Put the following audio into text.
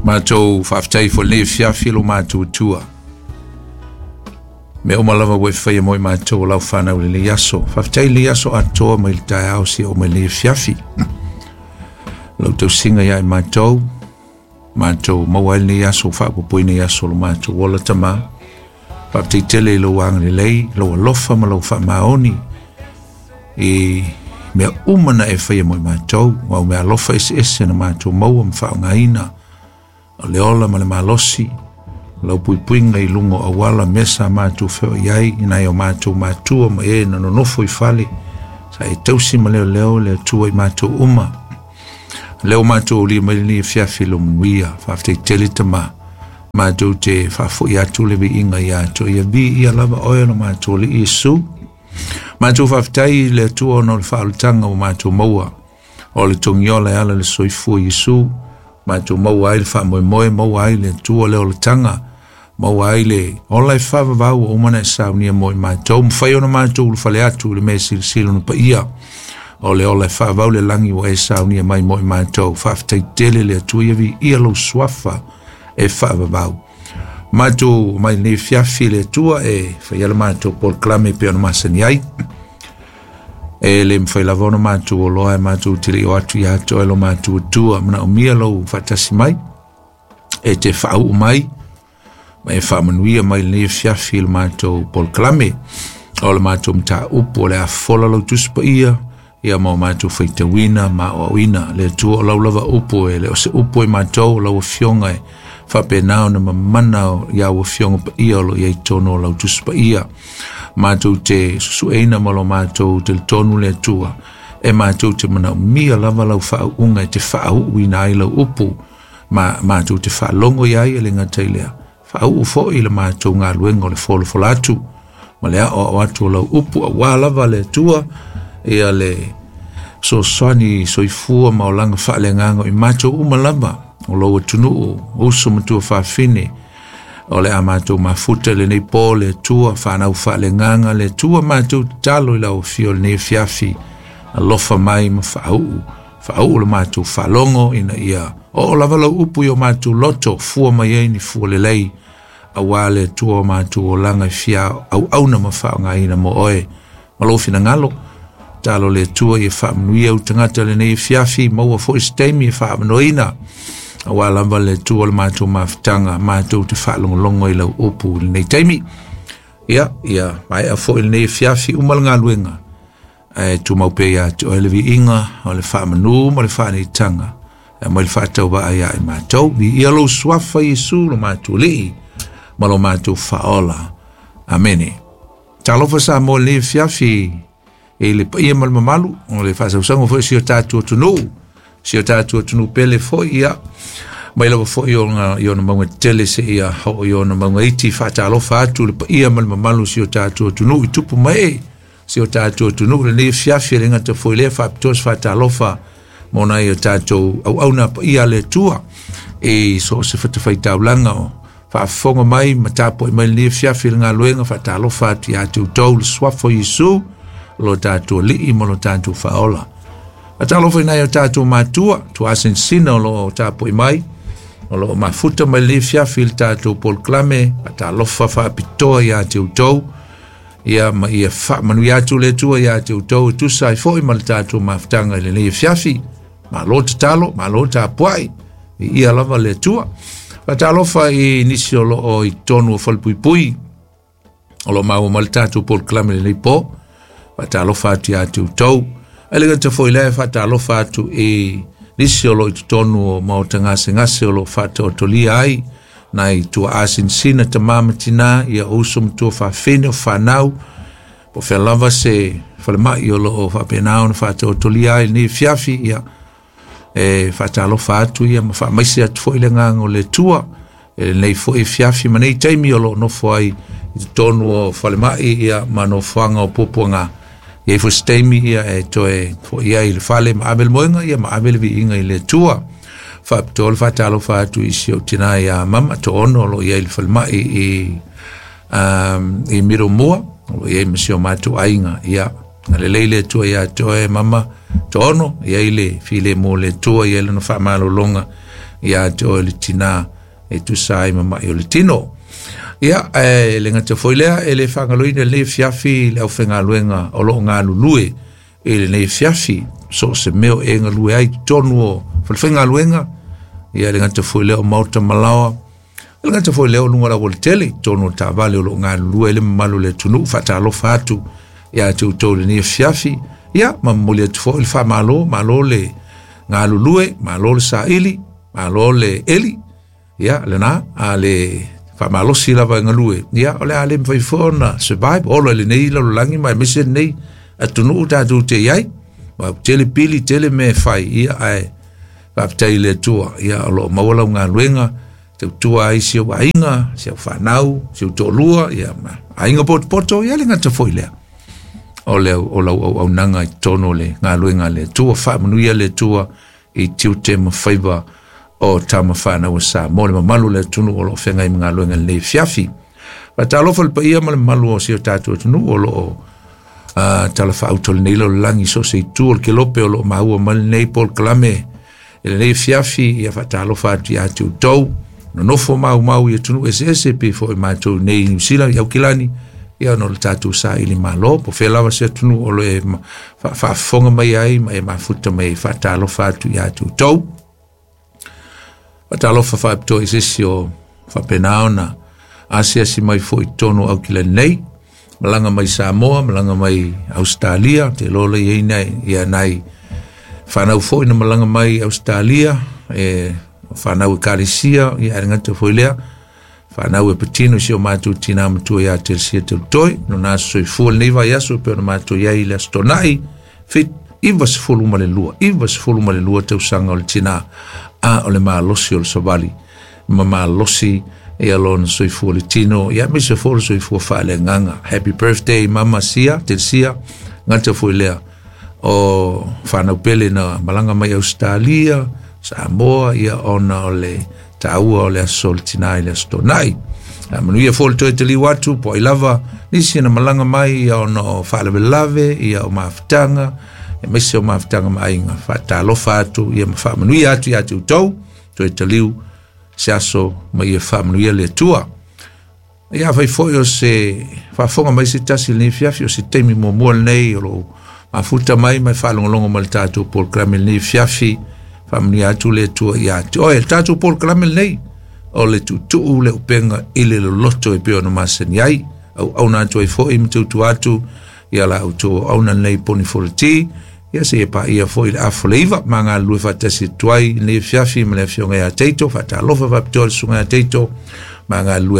Matou faafetai foi lenei afiafi lo matou tua. Mea uma lava ua e faia mo i matou o lau fanau i lenei aso. Faafetai lenei aso atoa mai le taeao seia oo mai lenei afiafi. Lau tausiga ia i matou, matou maua ai lenei aso, faaopoopoina i aso o lo matou ola Tama. Faafetai tele i lou agalelei, lou alofa ma lou faamaoni i mea uma na e faia mo i matou, au mea alofa eseese na matou maua ma faaaogaina, o le ola ma le malosi, lau puipuiga i luga o auala, mea sa matou feoai ai, i nai o matou matua ma e na nonofo i fale, sa e tausi ma leoleo le Atua i matou uma. Lea ua matou aulia mai lenei afiafi lo manuia, faafetai tele Tama. Matou te faafoi atu le viiga ia te oe, ia viia lava oe lo matou Alii Iesu. Matou faafetai i le Atua ona o le faaolataga ua matou maua, o le togiola e ala i le soifua Iesu, matou maua ai le faamoemoe, maua ai le Atua le olataga, maua ai le ola e faavavau ua uma ona e saunia mo i matou, mafai ona matou ulufale atu i le mea silisili ona paia, o le ola e faavavau le lagi ua e saunia mai mo i matou. Faafetai tele le Atua, ia viia lou suafa e faavavau. Matou mai lenei afiafi le Atua e faia le matou polokalame e pei ona masani ai. E le mafai lava ona matou oloa e matou te le o atu ia te oe lo matou Atua, manaomia lou faatasi mai, e te faauu mai, ma e faamanuia mai lenei afiafi i le matou polokalame. O le matou mataupu o le a fofola lau Tusi Paia, ia ma o matou faitauina ma aoaoina. Le Atua o lau lava upu e le o se upu e matou, o lau afioga e faapena ona mamana ia au afioga paia o lo o i ai totonu o lau Tusi Paia. Matou te susueina ma lo matou talitonu le Atua, e matou te manaomia lava lau faauuga e te faauuina ai lau upu, ma matou te faalogo i ai e le gata i lea, faauu foi le matou galuega o le folafola atu ma le aoao atu o lau upu, aua lava le Atua ia le fesoasoani soifua ma olaga faaleagaga i matou uma lava o lou atunuu, uso ma tuafafine, o le a matou mafuta i lenei po le Atua, fanau faaleagaga le Atua, matou tatalo i lau afio i lenei afiafi, alofa mai ma faauu, faauu le matou faalogo ina ia oo lava lau upu i o matou loto, fua mai ai ni fua lelei, aua le Atua o matou olaga e fia auauna ma faaaogaina mo oe ma lou finagalo. Talo le Atua ia faamanuia au tagata lenei afiafi, maua foi se taimi e faaavanoaina, aua lava le Atua o le matou mafutaga, matou te faalogologo i lau upu i lenei taimi. Ia, ia maea foi lenei afiafi, uma le galuega, ae tumau pea ia te oe le viiga o le faamanu ma le faaneetaga, e aumai le faatauvaa ia i matou. Viia lou suafa Iesu lo matou Alii ma lo matou Faaola. Amene. Talofa Samoa i lenei afiafi i le paia ma le mamalu o le faasausaga foi o si o tatou atunuu, si o tatou atunuu pele foi, ia mai lava foi i ona mauga tetele seia oo i ona mauga iti. Faatalofa atu le paia ma le mamalu o si o tatou atunuu i tupu ma ee si o tatou atunuu lenei afiafi, e le gata foi lea, faapitoa se faatalofa mo nai o tatou auauna paia a le Atua i so o se fatafaitaulaga o faafofoga mai ma tapuai mai lenei afiafi i le galuega. Faatalofa atu ia te outou le suafa o Iesu lo tatou Alii ma lo tatou Faaola. Faatalofa i nai o tatou matua tuasinasina o lo o tapuai mai, o lo o mafuta mai lenei afiafi i le tatou polokalame. Faatalofa faapitoa ia te outou, ia ma ia faamanuia atu le Atua ia te outou e tusa ai foi ma le tatou mafutaga i lenei afiafi. Malo tatalo, malo tapuai, viia lava le Atua. Faatalofa i nisi o lo o i totonu o falepuipui o lo o maua mai le tatou polokalame i lenei po. Faatalofa atu ia te outou. Ae le gata foi lea, faatalofa atu i nisi o lo o i totonu o maota gasegase o lo o faataotolia ai nai tuaa sinasina, tama ma tina, ia uso ma tuafafine o fanau, po o fea lava se falemai o lo o faapena ona faataotolia ai lenei afiafi. Ia e faatalofa atu ia ma faamaise atu foi le agaga o le Atua e lenei foi afiafi ma nei taimi o lo o nofo ai i totonu o falemai ia ma nofoaga o puapuaga. Ia i foi se taimi ia e toe foi ai i le fale ma ave le moega ia ma ave le viiga i le Atua. Faapitoa le faatalofa atu i si ou tina ia Mama Toono o lo o i ai i le falemai i Middlemore, o lo o i ai ma si o matou aiga. Ia, agalelei le Atua ia te oe Mama, Toaono, e i ai le filemu o le Atua, e i ai lana faamalologa ia te oe le tinā e tusa ai ma mai o le tino. Ia, e le gata foi lea, e le faagaloina i lenei afiafi le aufaigaluega o lo o galulue i lenei afiafi, so o se mea o e galue ai i totonu o falefaigaluega, ia e le gata foi lea o maota ma laoa, e le gata foi lea o luga o le aualatele i totonu o taavale o lo o galulue ai le mamalu o le atunuu. Faatalofa atu ia te outou i lenei afiafi, ia ma momoli atu foi le faamalo, malo le galulue, malo le saili, malo le eli, ia lena, a le faamalosi lava e galue, ia o le a le mafai foi ona survive, ola i lenei lalolagi ma aemaise lenei atunuu tatou te i ai. Ma tele pili, tele mea e fai, ia ae faafetai i le Atua, ia o lo o maua lau galuega, tautua ai si ou aiga, si au fanau, si ou toalua, ia ma aiga potopoto, ia le gata foi lea. O le o lau auaunaga i totonu o le galuega a le Atua, faamanuia le Atua i tiute ma faiva o tama fanau a Samoa, le mamalu o le atunuu o lo o feagai ma galuega i lenei afiafi. Faatalofa i le paia ma le mamalu o si o tatou atunuu o lo o talafaauto i lenei lalolagi, so o se itu o le kelope o lo o maua mai lenei polokalame i lenei afiafi. Ia faatalofa atu ia te outou nonofo maumau i atunuu eseese, pei foi matou nei i Niu Sila, i Aukilani, ia ona o le tatou saili malo, po o fea lava se atunuu o lo e faafofoga mai ai ma e mafuta mai ai. Faatalofa atu ia te outou. Faatalofa faapitoa i se isi o faapena ona asiasi mai foi i totonu o Aukilani nei, malaga mai Samoa, malaga mai Ausetalia, te iloa la i ai nai, ia nai fanau foi na malaga mai Ausetalia, e fanau ekalesia, ia e le gata foi lea, fanau e patino i si o matou tinā matua ia Telesia Teutoe, lona aso soifua lenei vaiaso e pei ona matou i ai i le Aso Toonai, 92, 92 tausaga o le tinā, a o le malosi o le savali, ma malosi ia lona soifua le tino, ia aemaise foi o le soifua faaleagaga. Happy birthday Mama Sia, Telesia, gata foi lea o fanau pele na malaga mai Ausetalia, Samoa, ia ona o le taua o le aso o le tinā i le Aso Toonai. A manuia foi le toe taliu atu, po ai lava nisi na malaga mai ia ona o faalavelave, ia o mafutaga, aemaise o mafutaga ma aiga. Faatalofa atu ia ma faamanuia atu ia te outou, toe taliu se aso ma ia faamanuia le Atua. Ia afai foi o se faafofoga mai se tasi i lenei afiafi, o se taimi muamua lenei o lou mafuta mai ma e faalogologo mai i le tatou polokalame i lenei afiafi, faamanuia atu le Atua ia te oe. Le tatou polokalame lenei, o le tuutuu le upega i le loloto e pei ona masani ai, auauna atu ai foi ma tautua atu ia la outou auauna lenei poni foloti, ia seia paia foi le afa o le 9, ma galulue faatasi atu ai i lenei afiafi ma le afioga ia Teito. Faatalofa faapitoa i le susuga ia Teito, ma galulue